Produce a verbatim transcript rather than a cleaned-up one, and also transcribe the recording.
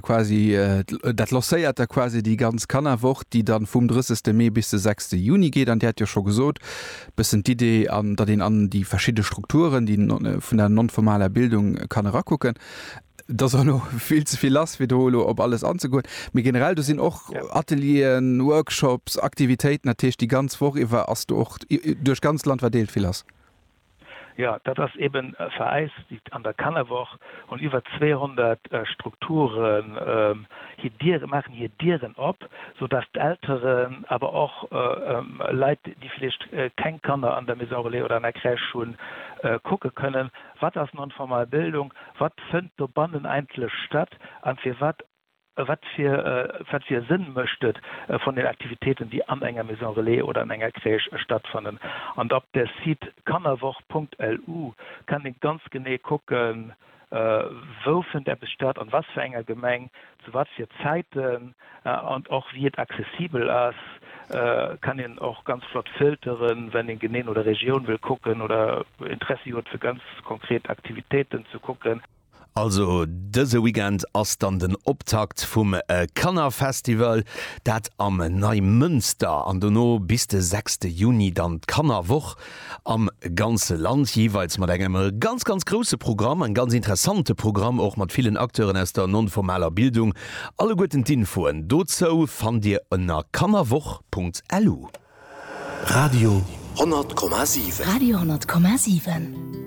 Quasi dat lancéiert da quasi déi ganz Kannerwoch, déi dann vum drëssegste Mee bis de sechste Juni geet. An Dir hat jo scho gesot, bëssen d'Idee an datt een an déi verschidde Strukturen, déi vun der non-formaler Bildung kann erakucken. Et ass och elo vill ze vill lass, fir do elo op alles anzegoen. Mee generell, do sinn och Atelieren, Workshops, Aktivitéiten, dat heescht déi ganz Woch iwwer ass do och duerch d'ganzt Land verdeelt vill lass. Jo, dat ass eben fir eis an der Kannerwoch hunn iwwer zweehonnert Strukturen hir Diere, maachen hir Dieren op, sou dass d'Elteren, awer och Leit, déi vläicht keng Kanner an der Maison relais oder an der Crèche hunn, kucke kënnen, wat ass non-formal Bildung, wat fënnt dobannen eigentlech statt an firwat Wat fir wat fir e Sënn mécht et vun den Aktivitéiten, déi an enger Maison Relais oder an enger Crèche stattfannen? An op der Site kannerwoch.lu kann ee ganz genee kucken, wou fënnt eppes statt, an was fir enger Gemeng, zu wat fir Zäiten an och wéi et accessibel ass. Kann een och ganz flott filteren, wenn een genee no der Regioun wëll kucken oder Interessi huet fir ganz konkret Aktivitéiten ze kucken. Also dëse Weekend ass dann den Optakt vum Kannerfestival, dat am Neimënster, an dono bis de sechste Juni dann d'Kannerwoch am ganze Land, jeeweils mat engem ganz ganz grousse Programm, en ganz interessante Programm och mat villen Acteuren aus der non-formaler Bildung. Alleguerten d'Infoen dozou fannt Dir ënner kannerwoch.lu. Radio honnert Komma siwen. Radio honnert Komma siwen.